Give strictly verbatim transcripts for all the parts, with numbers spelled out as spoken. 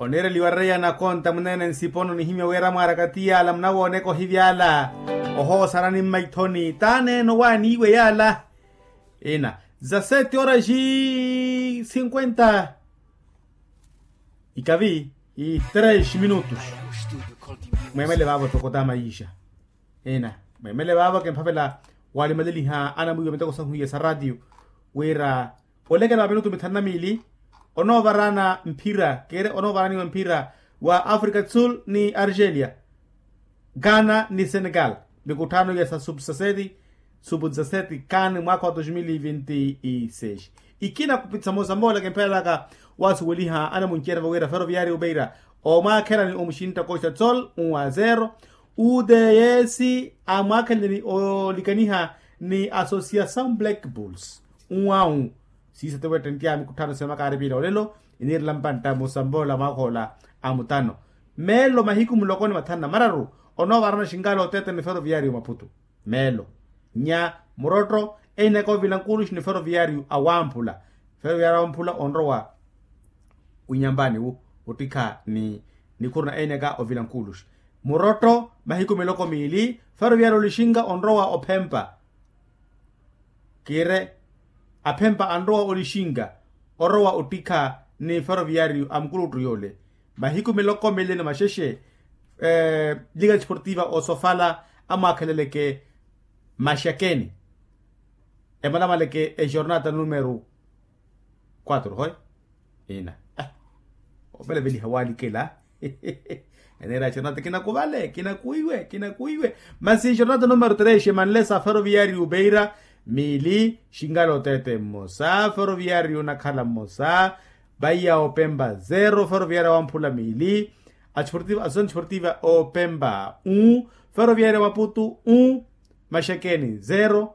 Oneereliwa reya nakonta munene nsipono nihimya wira mwaaraka ti yaala munawooneka ohivyala. Ohoosarani mmaithoni t'aneene owaaniiwe yaala. Ina za sete horas e cinquenta ikavi e três minutos. Mweemele vaavo toko ta mayixa. Ina mweemele vaavo kimphavela walimaleliha anamwiiwa miteko sahuiya sa ratio wira olekela wa minutu mithanu na miili onoovarana mphira kere onoovaraniwa mphira wa africa do sul ni argelia, ghana ni senegal. Mikutthano ya sa sub dezasete sub dezasete kan mwaakha wa dos mil e vinte e seis. Ikina kupitisa mosambola kimphelelaka wasuweliha anamuncerya vawira ferroviario beira omwaakhela ni omuxintta costa do sol un a zero. Uds amwaakhelele ni olikaniha ni associação black bulls un a un. Siisa tiwettenttya mikutthano semakari piila olelo iniirela mpantta musamboola mwaakha ola a mutano. Meelo mahiku muloko ni mathanu na mararu onoovarana xinkaala oteete ni ferroviario maputu. Meelo nya murotto einaka ovila nkuluxi ni ferroviario awamphula. Ferroviario awamphula onrowa winyampani wu ottikha ni nikhuru na einaka ovila nkuluxi. Murotto mahiku miloko miili ferroviario olixinka onrowa ophempa. Kiire aphempa anrowa olixinka orowa ottikha ni ferroviario a mukuluttu yoole. Mahiku miloko miili ni maxexe lika desportiva osofala amwaakheleleke maxakeni emalamaleke exornata numero quatro hoy. Ina oveleveliha walikela. Eneera exornata kinakuvale kinakuiwe kinakuiwe. Masi exornata numero tres emanle sa ferroviario beira miili xinkala oteete mmosa ferroviario nakhala mmosa. Vaiya opempa zero ferroviario awamphula miili. Associação desportiva opempa un ferroviario maputu un maxakeni zero.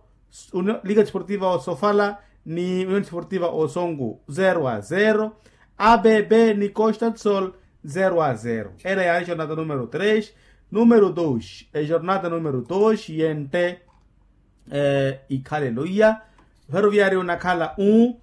Lika desportiva osofala ni union desportiva osonku zero a zero. Abb ni costa do sol zero a zero. Era ya exornata numero tres. Numero dos exornata numero dos yente ikhalelo iya. Ferroviario nakhala un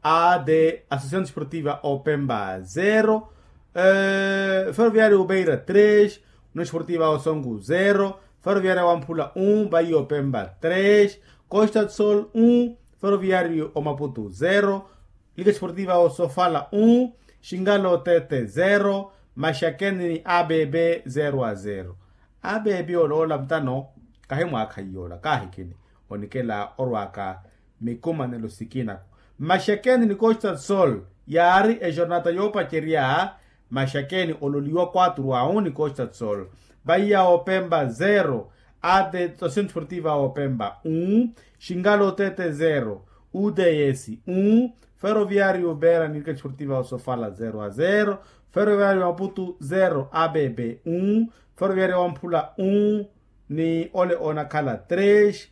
ad associação desportiva opempa zero. Ferroviario beira tres union desportiva osonku zero. Ferroviario wamphula un vaiya opempa tres. Costa do sol un ferroviario omaputu zero. Lika desportiva osofala un xinkala oteete zero. Maxakeni ni abb zero a zero. Abb oloola mutano kahi mwaakha iyoola kaahikini onikela orwaaka mikumanelo sikinaku. Maxakeni ni costa do sol yaari exornata yoopacerya. Maxakeni ololiwa quatro a un ni costa do sol. Vaiya opempa zero. Ad associação desportiva opempa un xinkala oteete zero. Uds un ferroviario beira ni lika desportiva osofala zero a zero. Ferroviario maputu zero abb un ferroviario wamphula un ni ole onakhala tres.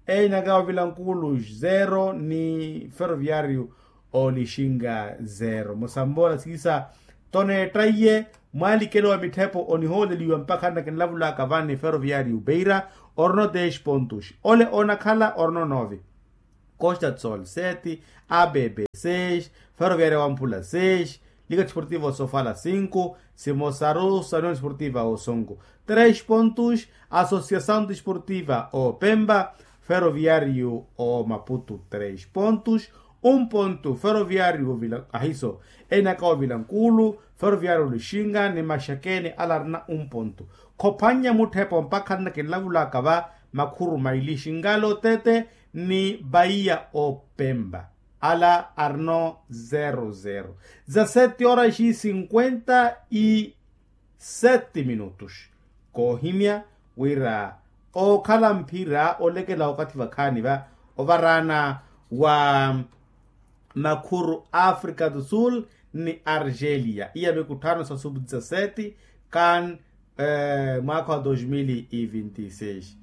Einaka ovila nkulu zero ni ferroviario olixinka zero musamboola siisa. Toneettaiye mwalikelo wa mitthepo onihooleliwa mpakha nnakinlavulaka vani ferroviario beira orino dez pontos. Ole onakhala orino nove. Costa do sol sete. Abb seis. Ferroviaria wamphula seis. Lika desportiva osofala cinco. Simosaru sa union desportiva osonku tres pontos. Associação desportiva opempa. Ferroviario omaputu tres pontos. Um ponto ferroviario ahiso. Enaka ovila nkulu. Ferroviario olixinka ni maxakeni ala arina um ponto. Khophannya mutthepo mpakha nnakinlavulaka va makhuru maili xinkala otete ni vaiya opempa. Ala arino zero zero. Za sete horas e cinquenta e sete minutos. Koohimya wira ookhala mphira olekela okathi vakhaani va ovaraana wa makhuru africa do sul ni argelia iya mikutthano sa sub dezasete kan mwaakha wa dos mil e vinte e seis.